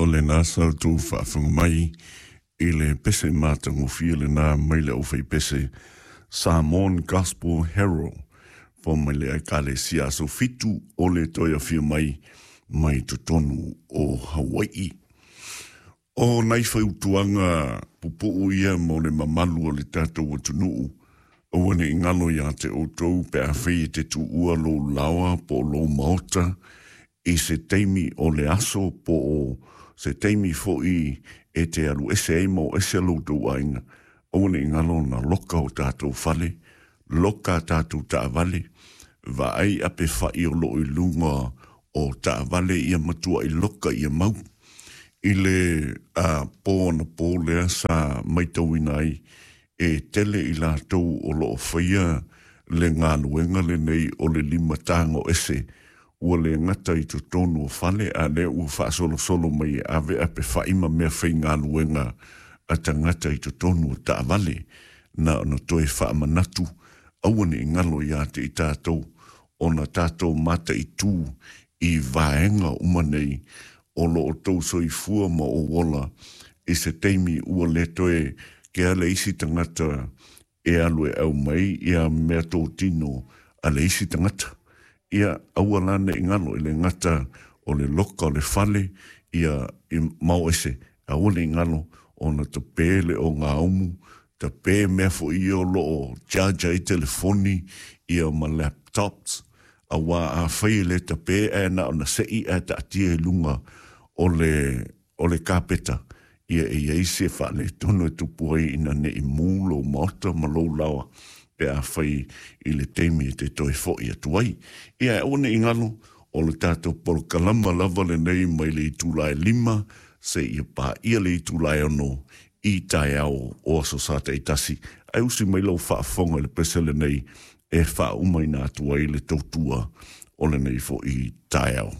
O lena sa outou faafofoga mai i le pese matagofie lena mai le aufaipese Samoan Gospel Herald fo mai le Ekalesia Aso Fitu o le toe afio mai mai totonu o Hawai'i. O nai fautuaga pupu'u ia mo le mamalu o le tatou atunuu, aua ne i galo iā te outou pe afai e te tuua lou laoa po o lou maota i se taimi o le aso po o se taimi foi e te alu ese ai ma o ese lo outou aiga, aua ne i galo ona loka o tatou fale, loka a tatou taavale, vaai ape fa'i o loo i luga o taavale ia matua'i loka ia mau. I le pō anapō lea sa matauina ai e tele i latou o loo faia le galuega lenei o le limatago ese ua le gata i totonu o fale, a lea ua faasolosolo mai e ave ape fa'i ma mea faigaluega a tagata i totonu o taavale. Na ona toe faamanatu, aua ne i galo iā te i tatou ona tatou mataitū i vaega uma nei o lo outou soifua ma ou ola i se taimi ua le toe kea le isi tagata e alu e aumai ia mea totino a le isi tagata. Ia aua la ne i galo i le gata o le loka o le fale ia i mao ese, aua ne i galo ona tape le o gaumu, tape mea foi ia o lo o charge ai telefoni ia ma laptops, auā afai e le tape ae na ona se'i ae taatia i luga o le o le kapeta, ia e i ai se faaletonu e tupu ai ina ne i mū lou maota ma lou laoa pe afai i le taimi e te toe fo'i atu ai. Ia e aua ne i galo, o le tatou polokalama lava lenei mai le itula e 5 seia paia le itula e 6 i taeao o Aso Sa taitasi. Ae usi mai lau faafofoga i le pese lenei e faauma ina atu ai le tautua o lenei fo'i taeao.